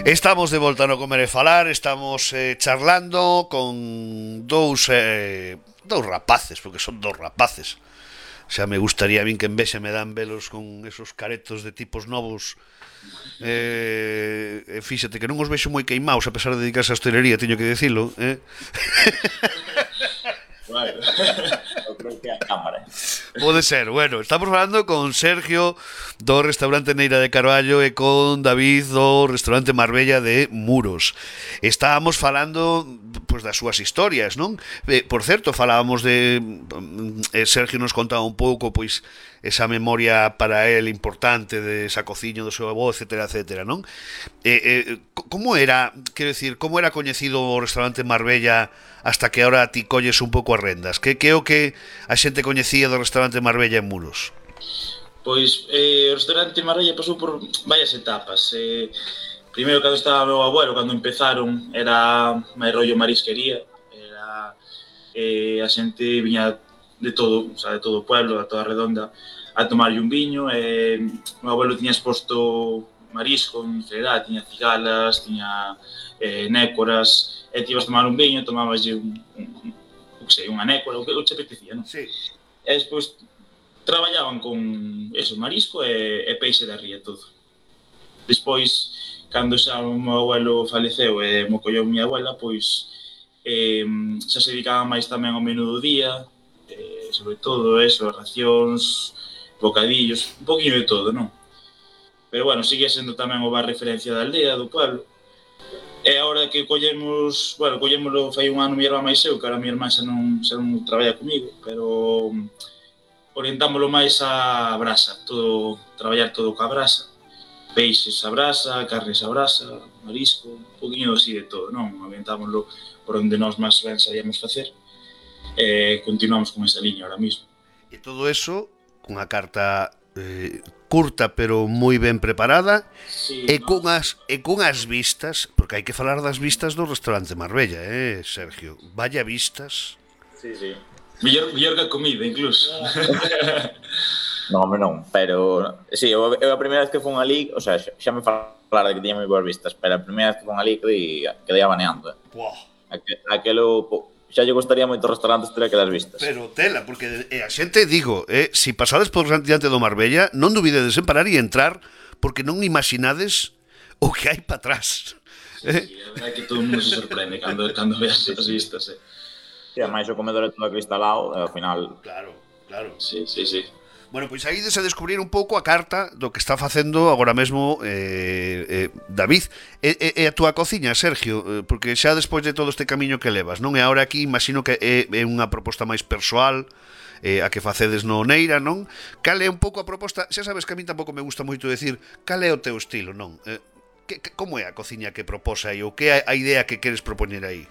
Estamos de volta no Comer e Falar. Estamos charlando con dous rapaces, porque son dous rapaces. Xa me gustaría a min que envexa me dan velos con esos caretos de tipos novos. Fíxate que non os vexo moi queimaos, a pesar de dedicarse á hostelería, teño que dicilo, Bueno, eu creo que é a cámara. Pode ser, bueno, estamos falando con Sergio do restaurante Neira de Carballo e con David do restaurante Marbella de Muros. Estábamos falando pois das súas historias, non? Por certo, falábamos de Sergio nos contaba un pouco pois esa memoria para él importante de esa cociña do seu avó, etcétera, etcétera, non? Como era, quero decir, como era coñecido o restaurante Marbella hasta que ahora ti colles un pouco as rendas? Que é o que a xente coñecía do restaurante Marbella en Muros? Pois o restaurante Marbella pasou por varias etapas. Primeiro, cando estaba meu abuelo, cando empezaron, era máis rollo marisquería. Era, a xente viña de todo, o sea, de todo o pueblo, da toda a redonda, a tomarlle un viño. Meu abuelo tiña exposto marisco, en general, tiña cigalas, tiña nécoras, e ti ibas tomar un viño, tomabas unha nécora, o que te apetecía, non? Sí. E despois traballaban con eso, marisco e peixe da ría, todo. Despois, cando xa o meu abuelo faleceu e mo colleu miña abuela, pois xa se dedicaban máis tamén ao menú do día, sobre todo eso, racións, bocadillos, un poquinho de todo, non? Pero bueno, sigue sendo tamén o bar referencia da aldea, do pueblo. E agora que collémolo fai un ano mi irmá máis eu, que ahora mi irmá xa non traballa comigo, pero orientámoslo máis á brasa, todo, traballar todo coa brasa, peixes a brasa, carnes a brasa, marisco, un poquinho así de todo, non? Orientámoslo por onde nós máis ben sabíamos facer, e continuamos con esa liña ahora mismo. E todo eso cunha carta curta pero moi ben preparada, sí, e cunhas vistas, porque hai que falar das vistas do restaurante Marbella, Sergio? Vaya vistas. Sí, sí. Mellor que a comida, incluso. Non, home, non, pero sí, eu a primeira vez que fun ali, o sea, xa me falara de que tiña moi boas vistas, pero a primeira vez que fun ali quedei abaneando. Aquelo xa lle gustaría moito restaurantes ter aquelas vistas. Pero tela, porque a xente, digo, si pasades por diante do Marbella, non dubidedes en parar e entrar, porque non imaginades o que hai para atrás. Sí, a verdade é que todo o mundo se sorprende cando veas as vistas, Sí, ademais o comedor é todo acristalado, e ao final... Claro. Sí. Bueno, pois aí de descubrir un pouco a carta do que está facendo agora mesmo David e a túa cociña, Sergio, porque xa despois de todo este camiño que levas, non? E agora aquí imagino que é unha proposta máis persoal, a que facedes no Neira, non? Cal é un pouco a proposta? Xa sabes que a mí tampouco me gusta moito decir cal é o teu estilo, non? Como é a cociña que propós aí, ou que é a idea que queres propoñer aí?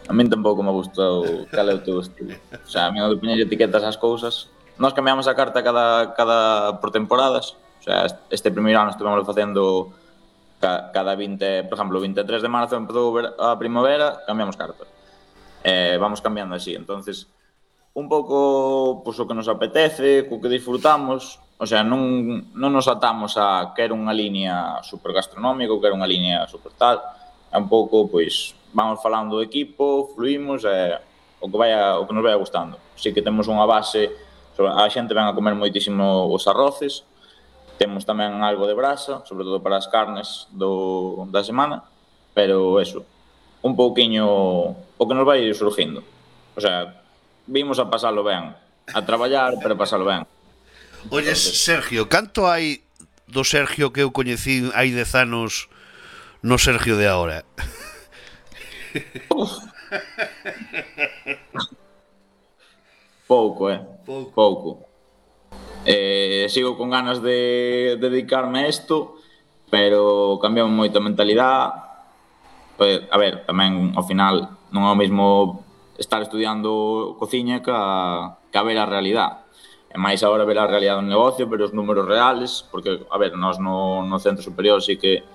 A min tampouco me gusta cal é o teu estilo. O sea, a mí de poñer etiquetas ás cousas. Nós cambiamos a carta cada por temporadas. O sea, este primeiro ano estivemos facendo cada 20, por exemplo, o 23 de marzo empezou a primavera, cambiamos carta. Vamos cambiando así. Entonces, un pouco pues, o que nos apetece, co que disfrutamos. O sea, non nos atamos a quero unha liña super gastronómica ou quero unha liña super tal. É un pouco, pois, vamos falando do equipo, fluímos, o que nos vaya gustando. Así que temos unha base, a xente ven a comer moitísimo os arroces, temos tamén algo de brasa, sobre todo para as carnes da semana, pero eso, un pouquiño o que nos vai surgindo. O sea, vimos a pasalo ben, a traballar, pero a pasalo ben. Oye, Sergio, canto hai do Sergio que eu coñecí hai 10 anos no Sergio de agora? Pouco. Sigo con ganas de dedicarme a isto, pero cambiamos moito a mentalidade. A ver, tamén ao final non é o mesmo estar estudiando cociña que a ver a realidade. E máis agora ver a realidade do negocio, ver os números reales, porque, a ver, nós no centro superior sí que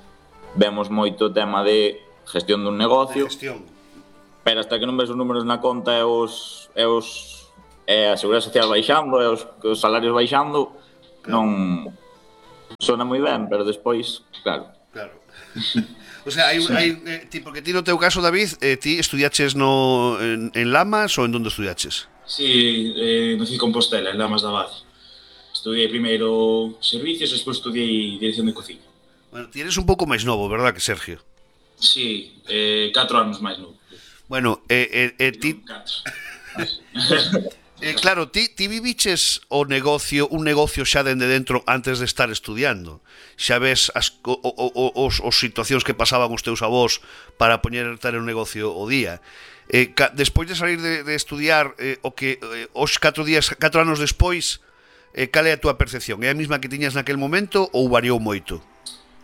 vemos moito o tema de gestión dun negocio, pero hasta que non ves os números na conta e a Seguridade Social baixando e os salarios baixando, non sona moi ben, pero despois, claro, Claro. O sea, porque ti no teu caso, David, ti estudiaches en Lamas ou en donde estudiaches? Sí, no Cid Compostela, en Lamas da Abade. Estudiei primeiro servicios e despois estudiei dirección de cociña. Bueno, ti eres un pouco máis novo, verdad que Sergio? Sí, 4 anos máis novo. Bueno, ti... 4. Claro, ti viviches un negocio xa dende dentro antes de estar estudiando. Xa ves os situacións que pasaban os teus avós para poñer ter un negocio o día. Despois de salir de estudiar, os 4 anos despois, cal é a túa percepción? É a mesma que tiñas naquel momento ou variou moito?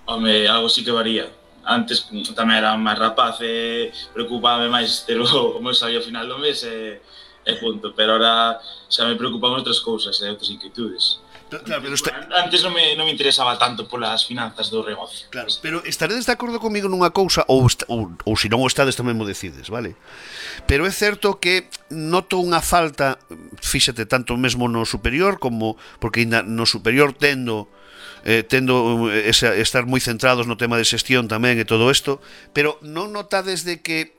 Home, algo sí que varía. Antes tamén era máis rapaz e preocupábame máis ter o meu salario ao final do mes e punto, pero ahora xa me preocupan outras cousas e outras inquietudes. Claro, pero antes non me interesaba tanto polas finanzas do negocio. Claro, pero estaredes de acordo comigo nunha cousa ou se non o estades tamén mo decides, vale? Pero é certo que noto unha falta, fíxate, tanto mesmo no superior como porque ainda no superior tendo estar moi centrados no tema de xestión tamén e todo isto, pero non notades de que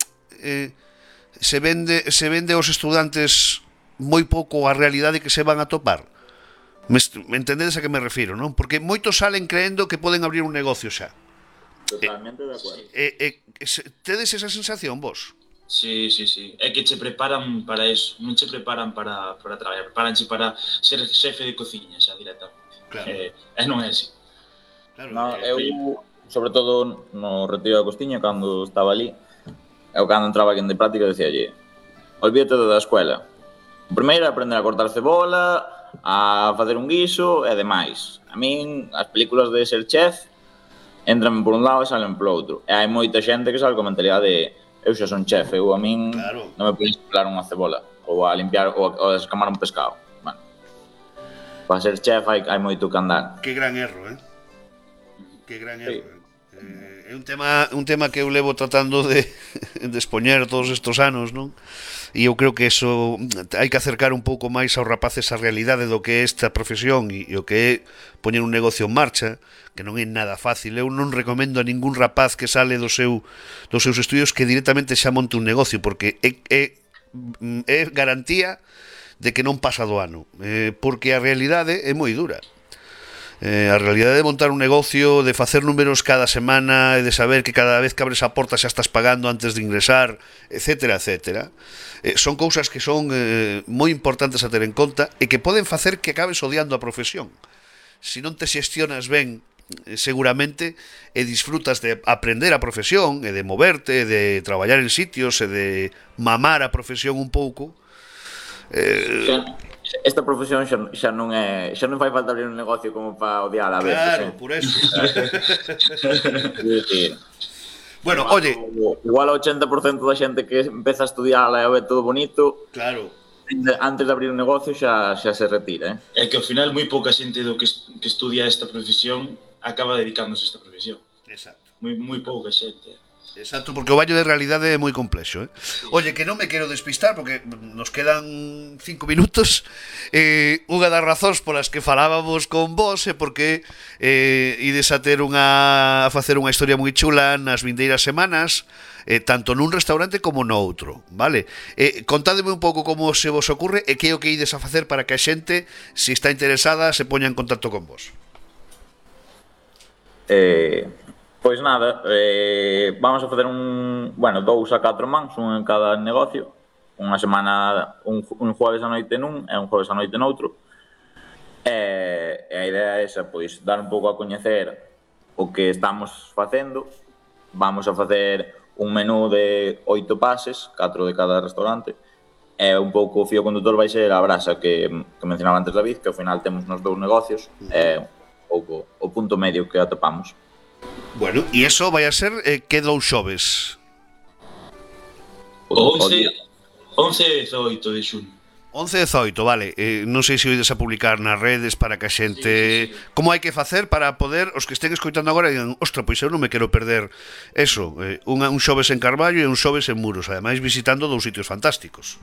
se vende aos estudantes moi pouco a realidade que se van a topar? Me entendedes a que me refiro, non? Porque moitos salen creendo que poden abrir un negocio xa. Totalmente de acordo. Tedes esa sensación, vos? Sí. É que che preparan para eso, non che preparan para traballar, preparanche para ser xefe de cociña xa directamente. Claro. E non é así. Claro, No, eu, sobre todo no retiro da Costiña, cando estaba ali, eu cando entraba aquí de práctica decíalle: olvídate da escuela. O primeiro é aprender a cortar cebola, a facer un guiso e demais. A min, as películas de ser chef entran por un lado e salen polo outro. E hai moita xente que sale con a mentalidade de eu xa son chef, eu a min claro, non me podes pelar unha cebola ou a limpiar ou a descamar un pescado. Bueno, para ser chef hai moito que andar. Que gran erro, Que gran erro. É un tema que eu levo tratando de expoñer todos estes anos, non? E eu creo que eso hai que acercar un pouco máis aos rapaces a realidade do que é esta profesión e o que é poñer un negocio en marcha, que non é nada fácil. Eu non recomendo a ningún rapaz que sale dos seus estudios que directamente xa monte un negocio, porque é garantía de que non pasa do ano, porque a realidade é moi dura. A realidade de montar un negocio, de facer números cada semana e de saber que cada vez que abres a porta xa estás pagando antes de ingresar, etcétera, etcétera, son cousas que son moi importantes a ter en conta e que poden facer que acabes odiando a profesión. Se non te xestionas ben, seguramente, e disfrutas de aprender a profesión e de moverte, de traballar en sitios e de mamar a profesión un pouco, esta profesión xa non fai falta abrir un negocio como para odiar a veces. Claro, por eso. Bueno, oye, igual o 80% da xente que empeza a estudiar e a ver todo bonito, claro, antes de abrir un negocio xa se retira, É que ao final moi pouca xente do que estudia esta profesión acaba dedicándose a esta profesión. Exacto. Moi pouca xente. Exacto, porque o baño de realidade é moi complexo, Oye, que non me quero despistar porque nos quedan 5 minutos. Unha das razóns polas que falábamos con vos é porque ides a facer unha historia moi chula nas vindeiras semanas, tanto nun restaurante como no outro, vale? Contádeme un pouco como se vos ocurre e que é o que ides a facer para que a xente, se está interesada, se poña en contacto con vos. Pois nada, vamos a facer 2 a 4 mans, un en cada negocio. Unha semana, un jueves a noite nun e un jueves a noite noutro. E a idea é esa, pois, dar un pouco a coñecer o que estamos facendo. Vamos a facer un menú de 8 pases, 4 de cada restaurante. E un pouco o fío condutor vai ser a brasa que mencionaba antes David, que ao final temos nos 2 negocios. E un pouco o punto medio que atopamos. Bueno, e iso vai a ser que 2 xoves? 11 e 18 de xuño. 11 e 18, vale. Non sei se oides a publicar nas redes para que a xente... Sí. Como hai que facer para poder, os que estén escoitando agora, digan, ostra, pois eu non me quero perder eso, un xoves en Carballo e un xoves en Muros, ademais visitando 2 sitios fantásticos.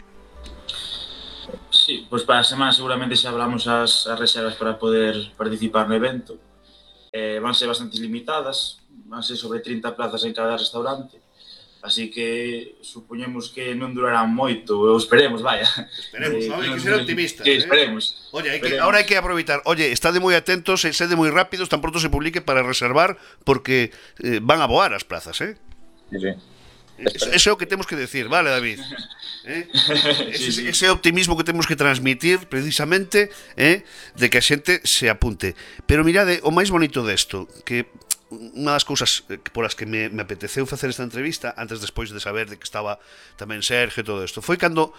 Sí, pois para a semana seguramente xa hablamos as reservas para poder participar no evento. Van ser bastante limitadas, van ser sobre 30 plazas en cada restaurante. Así que supoñemos que non durarán moito, ou esperemos, vaya. Esperemos, hai que ser optimistas. Que esperemos. Oye, esperemos. ahora hai que aproveitar. Oye, estade moi atentos e sede moi rápidos tan pronto se publique para reservar porque van a voar as plazas, Sí, sí. Ese é o que temos que decir, vale, David? Sí. Ese optimismo que temos que transmitir precisamente de que a xente se apunte. Pero mirade, o máis bonito desto, que unha das cousas polas que me apeteceu facer esta entrevista antes despois de saber de que estaba tamén Sergio e todo isto foi cando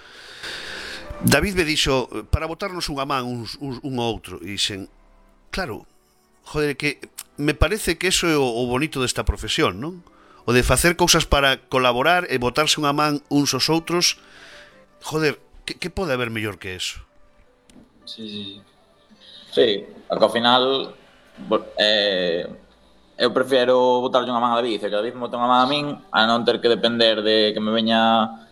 David me dixo para botarnos unha man un ao outro e dixen, claro, joder, que me parece que eso é o bonito desta profesión, non? O de facer cousas para colaborar e botarse unha man uns aos outros. Joder, que pode haber mellor que eso? Sí. Sí, porque ao final eu prefiero botarlle unha man a David e que David me bote unha man a min a non ter que depender de que me veña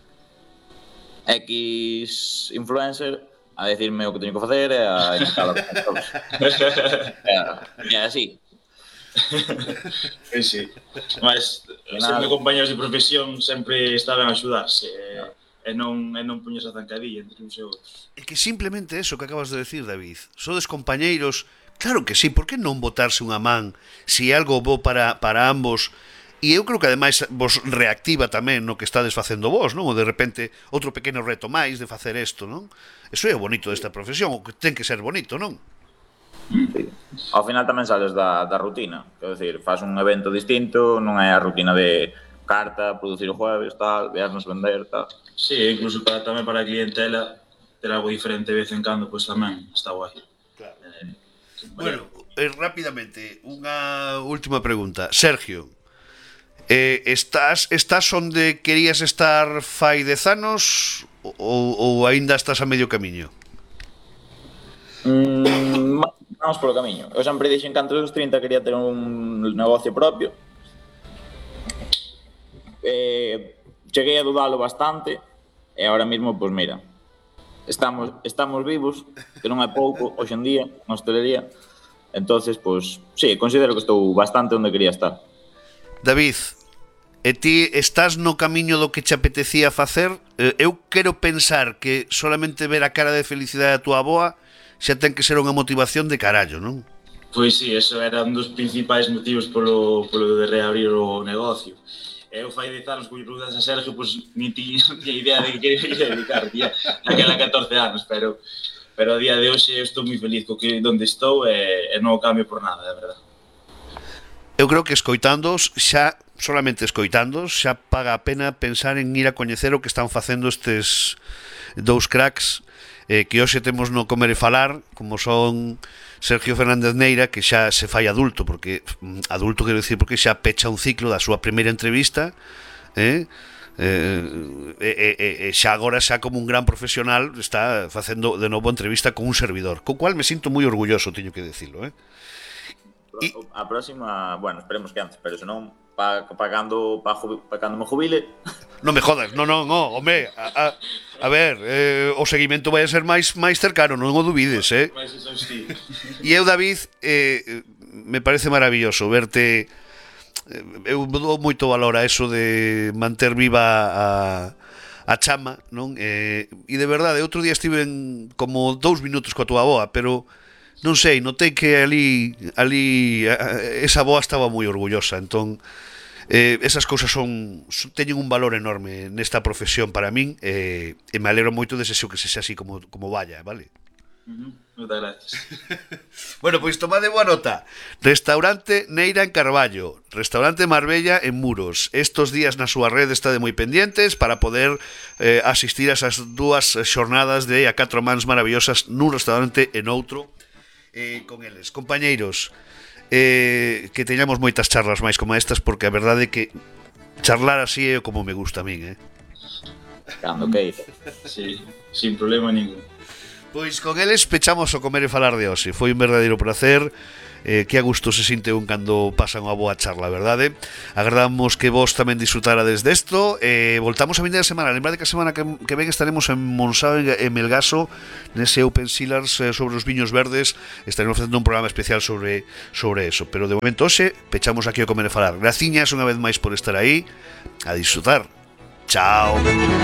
X influencer a decirme o que teño que facer e a indicar o que teño que facer. É así. Sí. Mas sempre compañeros de profesión sempre estaban a axudarse e non poñerse a zancadilla entre uns e outros. É que simplemente eso que acabas de decir, David. Sodes compañeiros. Claro que sí, por que non botarse unha man se é algo bo para ambos? E eu creo que ademais vos reactiva tamén no que estades facendo vos, non? Ou de repente outro pequeno reto máis de facer isto, non? Eso é o bonito desta profesión, o que ten que ser bonito, non? Sí. Ao final tamén sales da rutina. Quero dicir, faz un evento distinto, non é a rutina de carta, producir o jueves, tal, viernes vender, tal. Sí, incluso tamén para a clientela ter algo diferente de vez en cando, pois tamén está guai. Claro. Bueno, rápidamente, unha última pregunta. Sergio, estás onde querías estar fai 10 anos ou aínda estás a medio camiño? Vamos polo camiño. Eu sempre dixen que antes dos 30 quería ter un negocio propio. Cheguei a dudalo bastante e agora mesmo, pois mira, estamos vivos, que non é pouco hoxe en día na hostelería. Entonces, pois, sí, considero que estou bastante onde quería estar. David, e ti estás no camiño do que che apetecía facer? Eu quero pensar que solamente ver a cara de felicidade da tua avoa xa ten que ser unha motivación de carallo, non? Pois sí, eso era un dos principais motivos polo de reabrir o negocio. Eu fai 10 anos que lle preguntas a Sergio, pois ni tiña idea de que quería dedicar, tía, naquela 14 anos, pero a día de hoxe eu estou moi feliz co que onde estou e non o cambio por nada, de verdade. Eu creo que escoitándoos, solamente escoitándoos, xa paga a pena pensar en ir a coñecer o que están facendo estes dous cracks que hoxe temos no Comer e Falar, como son Sergio Fernández Neira, que xa se fai adulto, porque adulto quero dicir porque xa pecha un ciclo da súa primeira entrevista, xa agora xa como un gran profesional está facendo de novo entrevista con un servidor, co cual me sinto moi orgulloso, teño que decirlo, A próxima, bueno, esperemos que antes, pero senón pagando me jubile. Non me jodas, non, home, a ver, o seguimento vai a ser máis cercano, non o dubides, E eu, David, me parece maravilloso verte. Eu dou moito valor a eso de manter viva a chama, non? E de verdade, outro día estive como 2 minutos coa tua avoa, pero non sei, notei que ali esa avoa estaba moi orgullosa, entón esas cousas teñen un valor enorme nesta profesión para min e me alegro moito de que sexa así como vaya, vale? Moitas gracias. Bueno, pois tomade boa nota. Restaurante Neira en Carballo, Restaurante Marbella en Muros. Estos días na súa rede está de moi pendientes para poder asistir a esas dúas xornadas de a 4 mans maravillosas nun restaurante e noutro con eles. Compañeiros, que teñamos moitas charlas máis como estas, porque a verdade é que charlar así é como me gusta a min, Cando queira. Sí, sin problema ningún. Pois con eles pechamos o Comer e Falar de hoxe. Foi un verdadeiro placer que a gusto se sinte un cando pasa unha boa charla, verdade? Agardamos que vos tamén disfrutarades desto. Voltamos a vindeira semana. Lembrade que a semana que ven estaremos en Monsáu e Melgaso, nese Open Cellars sobre os viños verdes. Estaremos facendo un programa especial sobre eso. Pero de momento hoxe pechamos aquí o Comer e Falar. Graciñas unha vez máis por estar aí. A disfrutar. Chao.